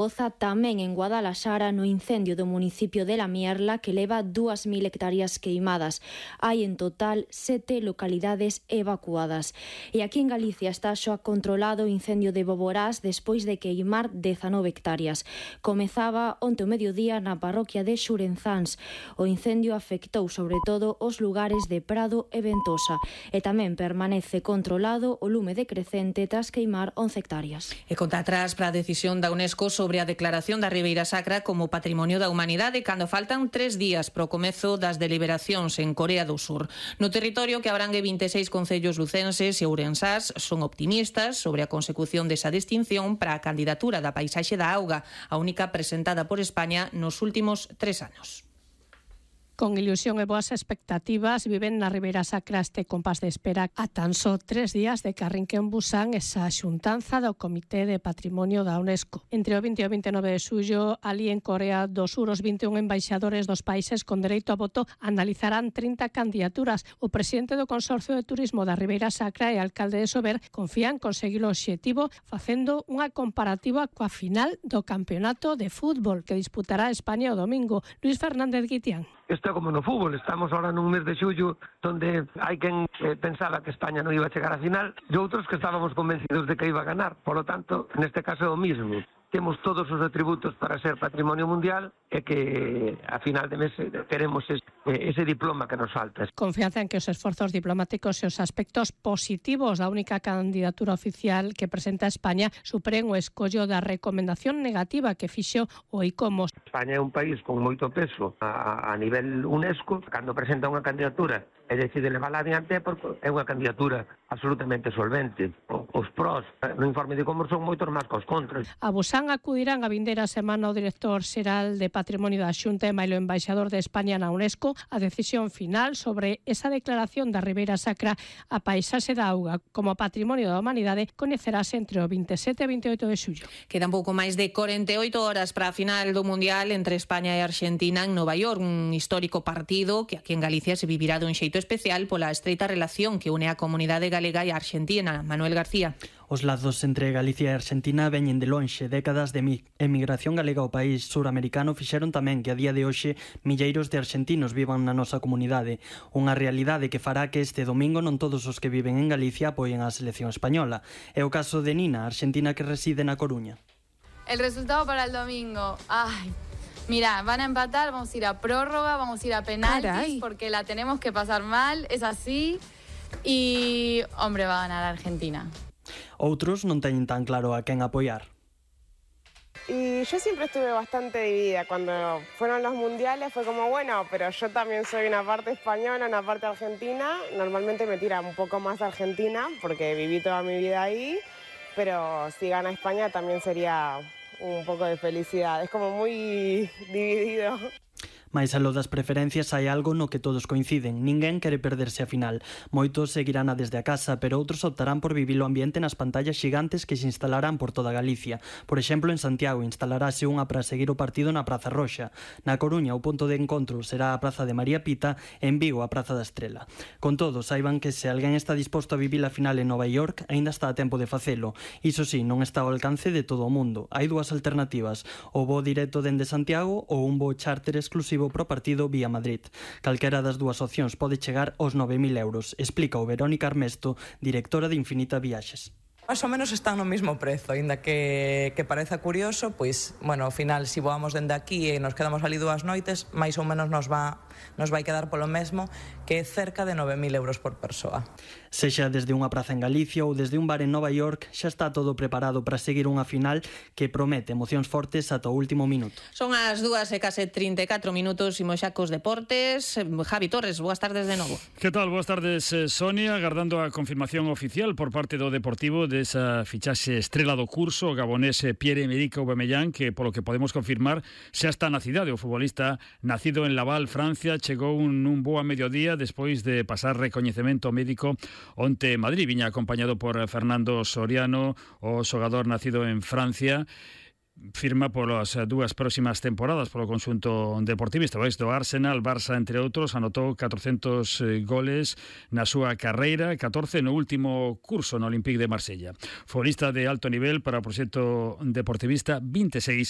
Oza tamén en Guadalaxara no incendio do municipio de La Mierla que leva 2.000 hectáreas queimadas. Hai en total 7 localidades evacuadas. E aquí en Galicia está xa controlado o incendio de Boborás despois de queimar 19 hectáreas. Comezaba onte o mediodía na parroquia de Xurenzáns. O incendio afectou sobre todo os lugares de Prado e Ventosa e tamén permanece controlado o lume decrecente tras queimar 11 hectáreas. E conta atrás para a decisión da UNESCO sobre a declaración da Ribeira Sacra como Patrimonio da Humanidade cando faltan 3 días para o comezo das deliberacións en Corea do Sur. No territorio que abrangue 26 concellos lucenses e ourensás son optimistas sobre a consecución desa distinción para a candidatura da paisaxe da auga, a única presentada por España nos últimos 3 años. Con ilusión e boas expectativas viven na Ribeira Sacra este compás de espera a tan só 3 días de que arrinque en Busan esa xuntanza do Comité de Patrimonio da UNESCO. Entre o 20 e o 29 de xullo, ali en Corea do Sur, os 21 embaixadores dos países con dereito a voto analizarán 30 candidaturas. O presidente do Consorcio de Turismo da Ribeira Sacra e alcalde de Sober confían conseguir o obxectivo facendo unha comparativa coa final do campeonato de fútbol que disputará España o domingo. Luis Fernández Guitián. Isto é como no fútbol, estamos ahora nun mes de xullo onde hai quen pensaba que España non iba a chegar á final e outros que estábamos convencidos de que iba a ganar. Por lo tanto, neste caso é o mismo. Temos todos os atributos para ser patrimonio mundial e que a final de mes teremos ese diploma que nos falta. Confianza en que os esforzos diplomáticos e os aspectos positivos da única candidatura oficial que presenta España superen o escollo da recomendación negativa que fixo o ICOMOS. España é un país con moito peso a nivel UNESCO. Cando presenta unha candidatura e decide levarla adiante porque é unha candidatura absolutamente solvente. Os prós no informe de ICOMOS son moitos máis que os contras. A Busan acudirán a vindeira semana o director xeral de Patrimonio da Xunta e mailo embaixador de España na UNESCO a decisión final sobre esa declaración da Ribeira Sacra a paisaxe da auga como Patrimonio da Humanidade coñecerase entre o 27 e 28 de xullo. Quedan pouco máis de 48 horas para a final do Mundial entre España e Argentina en Nova York, un histórico partido que aquí en Galicia se vivirá dun xeito especial pola estreita relación que une a comunidade galega e a argentina. Manuel García. Os lazos entre Galicia e Argentina veñen de lonxe. Décadas de emigración galega ao país suramericano fixeron tamén que a día de hoxe milleiros de argentinos vivan na nosa comunidade. Unha realidade que fará que este domingo non todos os que viven en Galicia apoien a selección española. É o caso de Nina, argentina que reside na Coruña. El resultado para el domingo. Ay, mira, van a empatar, vamos a ir a prórroga, vamos a ir a penaltis, porque la tenemos que pasar mal, es así. Y, hombre, va a ganar Argentina. Outros non teñen tan claro a quen apoiar. Y yo siempre estuve bastante dividida. Cuando fueron los mundiales fue como, bueno, pero yo también soy una parte española, una parte argentina. Normalmente me tira un poco más Argentina porque viví toda mi vida ahí. Pero si gana España también sería un poco de felicidad. Es como muy dividido. Mais aló das preferencias hai algo no que todos coinciden. Ninguén quere perderse a final. Moitos seguirán a desde a casa, pero outros optarán por vivir o ambiente nas pantallas xigantes que se instalarán por toda Galicia. Por exemplo, en Santiago instalarase unha para seguir o partido na Praza Roxa. Na Coruña, o punto de encontro será a Praza de María Pita, en Vigo a Praza da Estrela. Con todo, saiban que se alguén está disposto a vivir a final en Nova York, aínda está a tempo de facelo. Iso sí, non está ao alcance de todo o mundo. Hai dúas alternativas, o voo directo dende Santiago ou un voo charter exclusivo pro partido vía Madrid. Calquera das dúas opcións pode chegar aos 9.000 euros, explica o Verónica Armesto, directora de Infinita Viaxes. Más ou menos están no mesmo prezo, aínda que pareza curioso, pois, bueno, ao final, se voamos dende aquí e nos quedamos ali 2 noites, máis ou menos nos vai quedar polo mesmo, que é cerca de 9.000 euros por persoa. Sexa desde unha praza en Galicia ou desde un bar en Nova York, xa está todo preparado para seguir unha final que promete emocións fortes ata o último minuto. Son as 2:34 minutos, imos xa cos deportes. Javi Torres, boas tardes de novo. Que tal? Boas tardes, Sonia. Agardando a confirmación oficial por parte do Deportivo desa fichaxe estrela do curso, o gabonés Pierre-Emerick Aubameyang, que polo que podemos confirmar xa está na cidade. O futbolista nacido en Laval, Francia, chegou nun bo a mediodía despois de pasar recoñecemento médico onte en Madrid. Viña acompañado por Fernando Soriano, o xogador nacido en Francia. firma polas dúas próximas temporadas polo conxunto deportivista. Do Arsenal, Barça, entre outros, anotou 400 goles na súa carreira, 14 no último curso no Olympique de Marsella. Futbolista de alto nivel para o proxecto deportivista, 26